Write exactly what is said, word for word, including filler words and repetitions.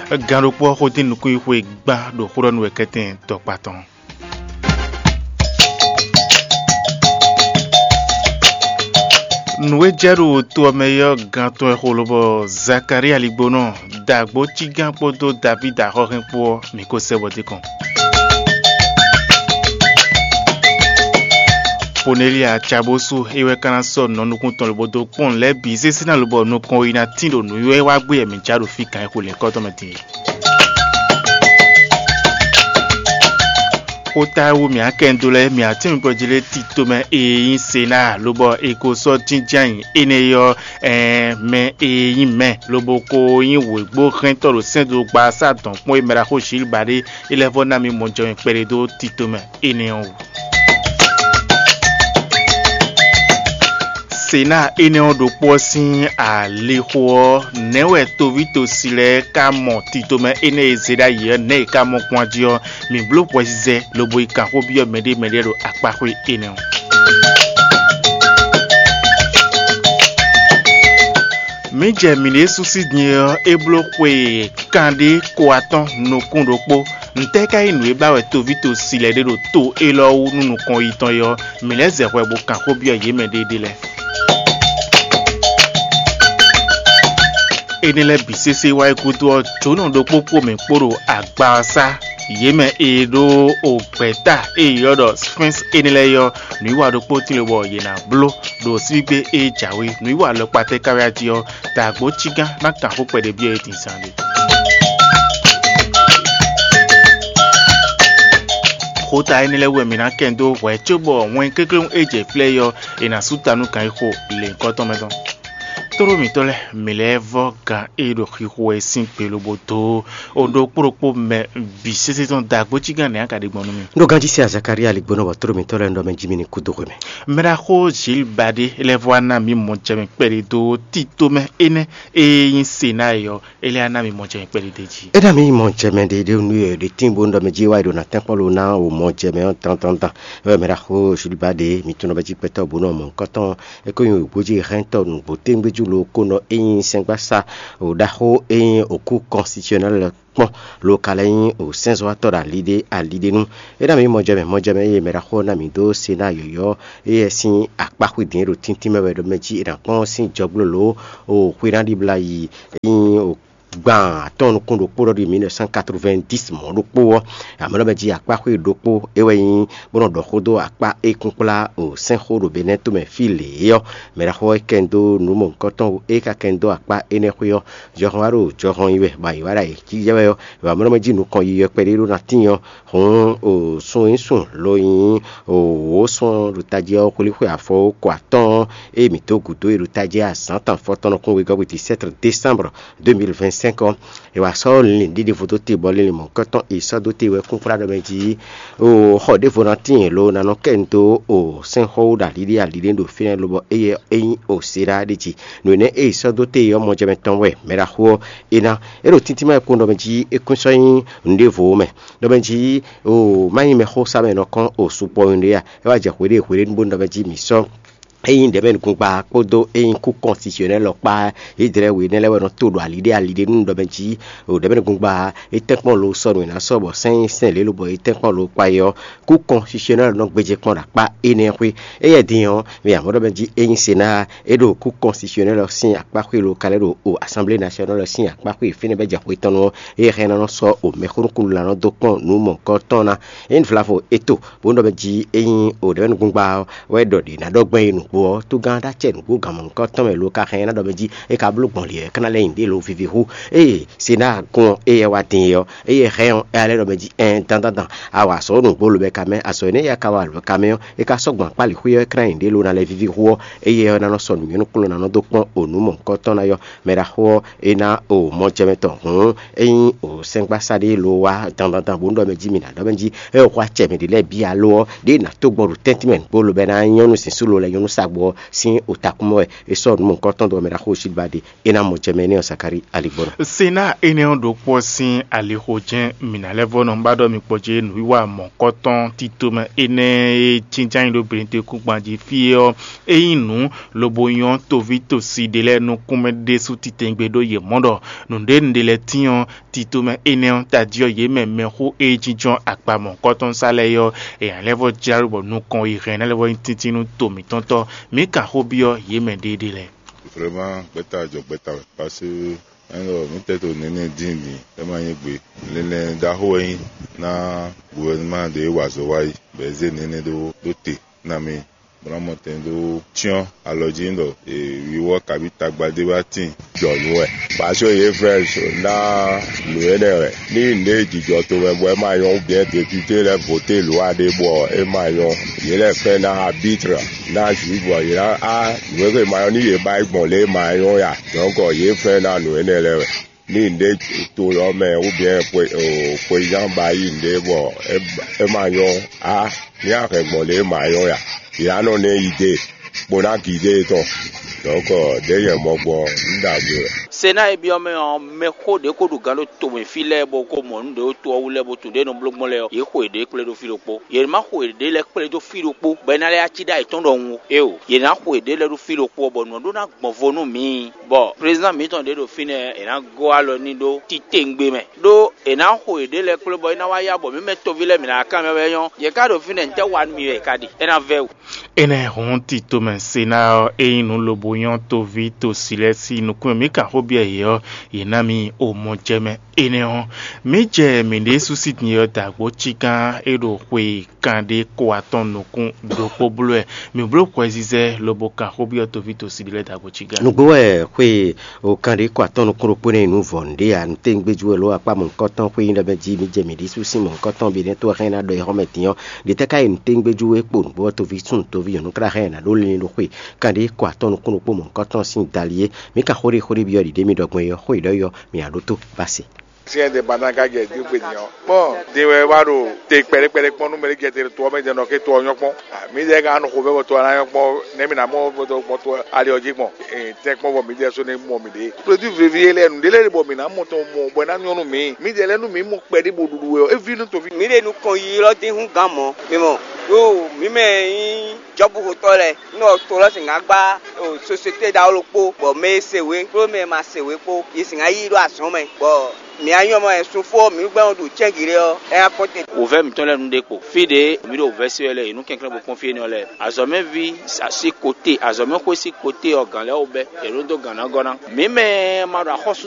Gǎn ɖokpó ɔ́ xo dín nukúnxwixwe gban ɖo xó ɖɔ nú wɛ kɛ́tɛn dɔkpa tɔn. Nǔ e jɛ ɖo to ɔ́ mɛ é ɔ́, gán tɔn wɛ xo lobɔ Zakalía ligbónɔ, dǎgbó cígán kpódó Davídi axɔ́hɛn kpó ɔ́, mǐ ko sɛ bɔ dé kɔn. Ponelíya Cabósu é wɛ ka ná sɔ́ nǔ nukún tɔn lobo dó kpɔ́n nǔ lɛ́ɛ bǐ sésé ná lobɔ nukɔn e ná tín ɖo nǔ e wá gbé wɛ mǐ já ɖo fí kan e xo lěkɔ́ tɔn mɛ din é. Xota e wú mǐ akɛndo lɛ́ɛ mǐ atínwungbɔjí lɛ́ɛ tito mɛ e nyí Senáa lobɔ è ko sɔ́ jínjɔ́n ayǐ énɛ́ ɔ́, ɛɛn mɛ e nyí mɛ lobo ko nyí wěgbóhɛntɔ́ ɖo sɛ́ndogba sá dɔ̌nkpɔ́n e mɛ ɖaxó Zilba ɖe é lɛ́ vɔ́ ná mì mɔjɛmɛ kpɛɖé dó tito mɛ énɛ́ ɔ́ wú. Senáa énɛ́ ɔ́ ɖokpó ɔ́ sín alixo ɔ́, nɛ̌ wɛ toví tosi lɛ́ɛ ka mɔ titomɛ énɛ́ e zé ɖ'ayǐ ɔ́, nɛ̌ yě ka mɔ kpɔ́n jí ɔ́, mǐ bló hwɛzizɛ lobo yi kan xó byɔ́ mɛɖé mɛɖé ɖo akpáxwé énɛ́ ɔ́. Mǐ jɛ mǐɖée sú sí din ɔ́, é bló xwe kanɖé ko atɔ́ɔ́n nukún ɖokpó. Ntɛ́ ka nyí nǔ e ba wɛ toví tosi lɛ́ɛ ɖe ɖo to élɔ́ wú nú nukɔn yi tɔn é ɔ́, mǐ lɛ́ zɛ hwɛ bó kan xó byɔ́ yě mɛ ɖéeɖée lɛ́ɛ. Énɛ́ lɛ́ɛ bǐ sésé wá yi gúdo ɔ́, jǒnɔ ɖokpó kpó mǐ kpó ɖo agba ɔ́ sá. Yě mɛ e ɖó ogbɛ̌ta e è ylɔ́ ɖɔ Sphinx énɛ́ lɛ́ɛ é ɔ́, nǔwiwa ɖokpó tín lobɔ yě ná bló ɖo síbígbe e jǎwe. Nǔwiwa alɔkpa tɛ́ ka wɛ a jí ɔ́, dǎgbó cígán ná kan xó kpɛɖé byɔ́ yě din zaanɖé. Xota énɛ́ lɛ́ɛ wú wɛ mǐ ná kɛn dó hwɛ̌ cóbɔ wɛn kéklé e jɛ flɛ́ é ɔ́, è nǎ sú ta nú gǎn e xo lěhunkɔtɔn mɛ tɔn. Tóɖó mǐtɔn lɛ́ɛ, mǐ lɛ́ vɔ́ gǎn e ɖo xixo wɛ sín gbe lobo dó o ɖokpó ɖokpó mɛ bǐ sésé tɔn dǎgbó cígán nɛ̌ a ka ɖe gbɔn nú mì? Ɖó ganjí se Zakalía ligbónɔ bɔ tóɖó mǐtɔn lɛ́ɛ ɖɔ mɛ jí mì ní kú dó xwe mɛ. Mɛɖaxó Zilbadé lɛ́ vɔ́ ná mǐ mɔ jɛ mɛ kpɛɖé dó tito mɛ énɛ́ e nyí Senáa é ɔ́, é lɛ́ ná mì mɔ jɛ mɛ kpɛɖé d'é jí. É ná mǐ mɔ jɛ mɛ ɖé ɖé nú yɛ ɖě tín bó ɖɔ mɛ jí wá yi ɖo ná tɛ́nkpɔ́n lo ná o mɔ jɛ mɛ ɔ́ dandandan. É wɛ mɛɖaxó Zilbadé mǐ tunɔ bɛ jí kpɛtɔ́ bó nɔ mɔ nukɔntɔn é kó nyí wěgbójí hɛntɔ́ nǔgbó téŋgbéjú lo kó nɔ é nyí sɛ́ngbásá o ɖaxó é nyí òkú kɔnsisyɔnɛ́l kpɔ́n lo ka lɛ́ nyí o sɛ́nzɔ́watɔ́ ɖo ali ɖé ali ɖé nu. É ná mǐ mɔjɛmɛ mɔjɛmɛ e mɛ ɖaxó ná mǐ dó se ná yɔ̌yɔ́ éyɛ́ sín akpá xwedǐn e ɖo tíntín mɛ wɛ ɖɔ mɛ jí è nǎ kpɔ́n sín jɔgblo lǒ o xwe ná ɖibla yi é nyí o gban atɔ́ɔ́n nukún ɖokpó ɖɔ ɖi mille neuf cent quatre-vingt-dix mɔ̌ ɖokpó ɔ́, amɔ̌ ɖɔ mɛ jí akpá xwé ɖokpó é wɛ nyí bó nɔ ɖɔ xó dó akpá e kúnkplá o sɛ́nxó ɖo Benɛ́ tomɛ fí lě é ɔ́, mɛ ɖaxó ɔ́ kɛn dó nǔ mɔ̌hunkɔtɔn e ka kɛn dó akpá énɛ́ xwé ɔ́, jɔhɔn wá ɖo jɔhɔn yi wɛ, bɔ ayǐ wá ɖo ayǐ jijɛ wɛ ɔ́, è wǎ mlɔ́ mɛ jí nukɔn yiyɔ́ kpɛɖé ɖó ná tíin ɔ́, hǔn o sun e nyí sun lo nyí o wǒ sun ɔ́ ɖo tají ɔ́ xwlí xwe afɔ ko atɔ́ɔ́n e mǐ dó gǔdo e ɖo tají azǎn tɔn fɔtɔn nukún wegɔ́ gbe dix-sept décembre deux mille vingt-cinq ɔ́, è wǎ sɔ́ linlin ɖiɖe vodó te bɔ linlin mɔ̌hunkɔtɔn e sɔ́ dó te wɛ kúnkplá ɖɔ mɛ jí o xɔ ɖěvo ná tíin lo ná nɔ kɛ nu dó o sɛ́nxɔ́ wú ɖo aliɖé aliɖé ɖo fínɛ́ lobɔ éyɛ́ é nyí o Será ɖé jí. Nǔ énɛ́ e è sɔ́ dó te ɔ́ mɔjɛmɛ tɔn wɛ mɛ ɖaxó ɔ́ é ná. É ɖo tíntín mɛ wɛ kpó ɖɔ mɛ jí é kún sɔ́ nyí nǔɖévo mɛ. Ɖɔ mɛ jí o má nyí mɛxósá mɛ nɔ kɔn o sukpɔ́ nyuɖé a? É wá jɛ hweɖée hweɖée bó ɖɔ mɛ jí mǐ sɔ́ é nyí ɖɛ̌mɛnugungba kpódó é nyí kú kɔnsisyɔnɛ́ lɔ kpá. Yědɛ́lɛ́ we énɛ́ lɛ́ɛ wɛ nɔ tó ɖo aliɖé aliɖé nú ɖɔ mɛ jí o ɖɛ̌mɛnugungba é tɛ́nkpɔ́n lo sɔ́ nǔ e ná sɔ́ bɔ sɛ́n nyí sɛ́n lě lobɔ é tɛ́nkpɔ́n lo kpa é ɔ́, kú kɔnsisyɔnɛ́ lɔ nɔ gbéjé kpɔ́n ɖo akpá énɛ́ xwé. Éyɛ́ din ɔ́, mɛ amɔ̌ ɖɔ mɛ jí é nyí Senáa é ɖo kú kɔnsisyɔnɛ́ lɔ sín akpá xwé lo ka lɛ́ ɖo o Assemblée nationale lɔ sín akpá xwé fínɛ́ bɛ́ jɛ xwe tɔn nu ɔ́, éyɛ́ hɛn ná nɔ sɔ́ o mɛxónúkúnnu lǎnɔ dó kpɔ́n nǔ mɔ̌hunkɔtɔn ná. É nyí Vlavo é to bó nɔ mɛ jí é nyí o ɖɛ̌mɛnugungba ɔ́ wɛ ɖɔ ɖě ná ɖɔ gbɛn e nǔgbó ɔ́, tógán ɖó acɛ nǔgbó gǎnmɔnukɔtɔn mɛ lo ka hɛn ná ɖɔ mɛ jí é ka bló gbɔn lě ɔ́, é ka ná lɛ́ nyi ɖě lo vivi hú. Ée Senáa gɔ́n ɔ́, éyɛ́ wá din é ɔ́, éyɛ́ hɛn ɔ́, é ná lɛ́ ɖɔ mɛ jí ɛn dandandan, a wa azɔ̌ nǔgbó lo bɛ ka mɛ, azɔ̌ énɛ́ e a ka wa lo bɛ ka mɛ ɔ́, é ka sɔ́ gbɔn akpá lǐxwé ɔ́, é ka ná nyi ɖě lo ná lɛ́ vivi hú ɔ́, éyɛ́ ɔ́ ná nɔ sɔ́ nǔnywɛ́núkplɔ́n ná nɔ dó kpɔ́n o nǔ mɔ̌hunkɔtɔn ná yɔ. Mɛ ɖaxó ɔ́, é ná o mɔjɛmɛ tɔn hǔn é nyí o sɛ́ngbásá ɖé lo wá dandandan bó ɖɔ mɛ jí mi ná ɖɔ mɛ jí é xɔ acɛ mɛ ɖě lɛ́ɛ bǐ alo ɔ́, ɖěe nǎ tó gbɔ ɖo tɛ́ntin mɛ nǔgbó lobɛ ná nyɔ́ nú zǐnsú lo lɛ́ɛ nyɔ́ nú tagbɔ ɔ́ sín otakún mɛ wɛ é sɔ́ nǔ mɔ̌hunkɔtɔn dó ɔ́ mɛ ɖaxó Osilbadi, é ná mɔ jɛ mɛ énɛ́ ɔ́ Zakalíi aligbɔnɔ. Sena énɛ́ ɔ́ ɖokpó ɔ́ sín alixo jɛ́n mǐ ná lɛ́ vɔ́ nɔ ba ɖɔ mi kpɔ́ jɛ nǔwiwa mɔ̌hunkɔtɔn tito mɛ énɛ́ e jínjɔ́n nyi ɖó Belentekúngban jí fí é ɔ́, é nyí nǔ lobo nyɔ́ toví tosi ɖé lɛ́ɛ nukún mɛ ɖésú titewungbe ɖó yě mɔ ɖɔ nǔɖé nǔɖé lɛ́ɛ tín ɔ́, tito mɛ énɛ́ ɔ́ tají ɔ́, yě mɛ mɛxó e jínjɔ́n akpa mɔ̌hunkɔtɔn sá lɛ́ɛ é ɔ́, è nǎ lɛ́ vɔ́ jlá ɖó bɔ nukɔn e hɛn ná lɛ́ vɔ́ nyí tíntín nú to mǐtɔn tɔ́. Mǐ kan xó byɔ́ yě mɛ ɖéeɖée lɛ́ɛ. Vraiment, gbɛ́ta jɔ gbɛ́ta wɛ, parce que ɛnlɔ mǐtɛɛ to nɛnɛ dín din, é ma nyí gbe. Linlɛn ɖaxó wɛ nyí ná gouvernement ɖě wa azɔ̌ wá yi, bɔ é zé nɛnɛ ɖó ɖó te ná mì bó ná mɔ tɛn dó cyɔ́n alɔ jí ɖɔ wiwɔ kabi tagba ɖé wá tín jɔ nǔ wɛ. Parce que yě fɛ́ ná nǔ énɛ́ wɛ. Ní nǔɖé jijɔ tomɛ bɔ é ma nyɔ́, ou bien député lɛ́ɛ voté lwa ɖé bɔ é ma nyɔ́, yě lɛ́ fɛ́ ná arbitre, ná juge bɔ yě ná á nǔ e ma nyɔ́ ní yě ba yi gbɔn lě e ma nyɔ́ ya. Donc yě fɛ́ ná nǔ énɛ́ lɛ́ɛ wɛ. Ní nǔɖé to ɔ́ mɛ, ou bien xweyán ba yi nǔɖé bɔ é ma nyɔ́ á, ní a hɛn gbɔn lě e ma nyɔ́ ya. Yě á nɔ ná yi dé bó ná gidé tɔn. Donc ɖěe nyɛ mɔ gbɔn un ɖagbe wɛ. Sena e byɔ́ mɛ ɔ́, mɛxó ɖě ko ɖo gǎn ɖo tomɛ fí lɛ́ɛ bɔ ko mɔ nǔ ɖě ɖo to ɔ́ wú lɛ́ɛ bó tunwun ɖě nɔ bló gbɔn lɛ́ɛ ɔ́, yě xo yěɖée kplé ɖó fí ɖokpó. Yě ma xo yěɖée lɛ́ɛ kplé dó fí ɖokpó bɔ é ná lɛ́ yá cí ɖó ayǐ tɔn ɖɔhun ó. Éeǒ, yě ná xo yěɖée lɛ́ɛ ɖó fí ɖokpó ɔ́, bɔ nǔ ɔ́ ɖó ná gbɔn vo nú mǐ, bɔ prézán mǐtɔn ɖě ɖo fínɛ́ è nǎ gɔ́ alɔ n'i ɖó titewungbe mɛ, ɖó è nǎ xo yěɖée lɛ́ɛ kplé bɔ é ná wá yá bɔ mǐ mɛ toví lɛ́ɛ mǐ ná kanbyɔ́ wɛ nyɔ́. Yě ká ɖo fínɛ́, ntɛ́ wa nú mì wɛ è ka ɖe? É ná vɛ́ wǔ. Énɛ́ hɔn tito mɛ se ná ɔ́, ényí nǔ lobo nyɔ́ toví tosi lɛ́ɛ sín nukún mɛ, mǐ kan xó byɔ́ yě ɔ́, yě ná mì omɔjɛmɛ. Énɛ́ ɔ́, mǐ jɛ mǐ ɖésú sín din ɔ́ dǎgbó cígán é ɖo xwe kanɖé kó atɔn nukún ɖokpó bló wɛ. Mǐ bló xwɛzizɛ lobo kan xó byɔ́ toví tosi ɖé lɛ́ɛ dǎgbó cígán. Nǔgbó wɛ xwe o kanɖé kó atɔn nukún ɖokpó nɛ́ nyi nǔ vɔ̌nu ɖé ǎ. Nǔtɛ́ngbéjú wɛ ló akpá mɔ̌hunkɔtɔn xwé nyí ɖɔ mɛ jí mǐ jɛ mǐ ɖésú sín mɔ̌hunkɔtɔn ɔ́ bǐ nɛ́ tó wɛ xá nyí ná ɖɔ é xɔ́ mɛ din ɔ́. Ɖě tɛ́ ká yi nǔtɛ́ngbéjú wɛ kpo nǔgbó ɔ́ toví súnnu toví nyɔ̌nu tlá xá nyí ná ɖó linlin ɖo xwe kanɖé kó atɔn nukún ɖokpó mɔ̌hunkɔtɔn sín dali é. Mǐ ka xó ɖé xó ɖé byɔ́ ɖiɖé mì ɖɔ gbɔn é ɔ́, xó e ɖɔ é ɔ́, mǐ ná ɖótó bá se. Siɛn de ba ná ka jɛ dín gbe din ɔ́. Kpɔn din wɛ wá ɖo te kpɛɖé kpɛɖé kpɔn nú mɛ ɖé jɛ te to ɔ́ mɛ jɛ nɔ ké to ɔ́ nyɔ́ kpɔn. Mǐdɛɛ ka nɔ xo vɛ́ bɔ to ɔ́ ná nyɔ́ kpɔn nɛ̌ mǐ ná mɔ bɔ to ali ɔ́ jí gbɔn. Tɛ́nkpɔ́n bɔ mǐdɛɛ sɔ́ ní mɔ mǐɖée. Produit vleví e lɛ́ɛ nǔɖé lɛ́ɛ ɖe bɔ mǐ ná mɔ tɔn mɔ bɔ é ná nyɔ́ nú mǐ. Mǐdɛɛ lɛ́ɛ nú mǐ mɔ kpɛɖé bo ɖuɖu wɛ ɔ́, é ví nú toví. Mǐ ɖe nukɔn yi élɔ́ dín hú gǎn mɔ̌. Mi mɔ, ɖó mǐ mɛ e nyí jɔ̌buxotɔ́ lɛ́ɛ, nú ɔ to lɔ́ sǐn ná gbá société ɖaxó ɖokpó, bɔ mɛ e se wě kpó mɛ e ma se wě kpó, yě sǐn ná yí ɖó azɔ̌ mɛ, bɔ mǐ anyɔ́ mɔ wɛ sunfó ɔ́, mǐ gbɛ́ ɔ́ ɖo cɛ́ngǐ ɖé ɔ́, é ná kpɔ́n te. Wǒvɛ́ mǐtɔn lɛ́ɛ nu ɖé kpo. Fí ɖě mǐ ɖo wǔvɛ́ se wɛ lɛ́ɛ, è nǔ kɛnklɛ́n bó kpɔ́n fí énɛ́ ɔ́ lɛ́ɛ. Azɔ̌mɛví sín kote, azɔ̌mɛxwé sín kote ɔ́, gǎn lɛ́ɛ wó bɛ́, è nǔ dó gǎn ná gɔ́ ná. Mǐ mɛ ma ɖo axɔ́sú